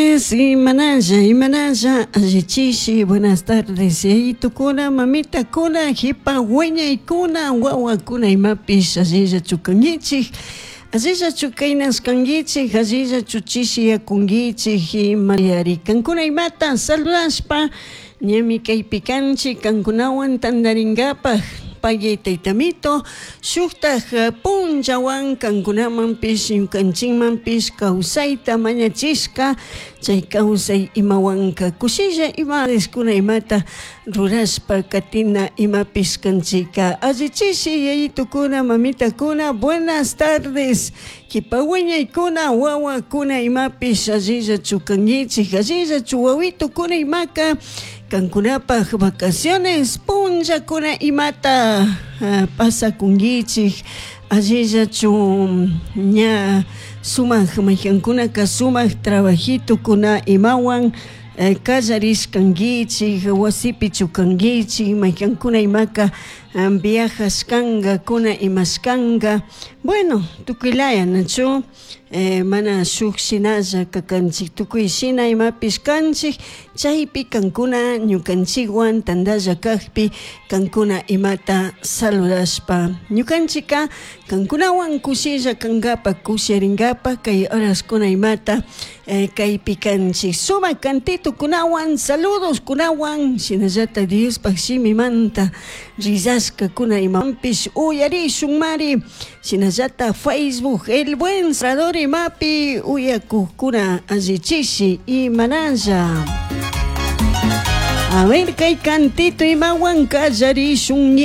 Imanalla, imanalla, allichishi, buenas tardes, yayitukuna, mamitakuna, jipa wiñaykuna, wawakuna imapish allillachu kankichik, allillachu kaynashkankichik, allillachu chishiyakunkichik, imayari kankuna imata saludashpa ñami kaypi kanchik kankunawan tantarinkapak pagui taytamito shuktak punllawan kankunamanpish ñukanchikmanpish kawsayta mañachishka chay kawsay imawanka kushilla ima kuna imata rurashpa katina imapish kanchika allichishi yayitukuna mamitakuna buenas tardes kipa wiñaykuna wawakuna imapish allillachu kankichik allillachu wawitukuna imaka kankunapak vacaciones punllakuna imata pasakunkichik allillachu ña sumak maykankunaka sumak trabajitokuna imawan kallarishkankichik wasipichu kankichik maykankuna imaka viajashkankakuna imashkanka bueno tukuylaya nachu mana shuk shinalla kakanchik tukuy shina imapish kanchik chaypi kankuna ñukanchikwan tantalla kakpi kankuna imata saludashpa ñukanchika kankunawan kushilla kankapak kushirinkapak kay horaskuna imata kaypi kanchik sumak cantitokunawan saludoskunawan shinallata Diospak shimimanta rillashkakuna imapish uyarishunmari shinallata Facebook El Buen Salvador imapi uyakukkuna allichishi imanalla. A ver kay cantito imawan kallarishun.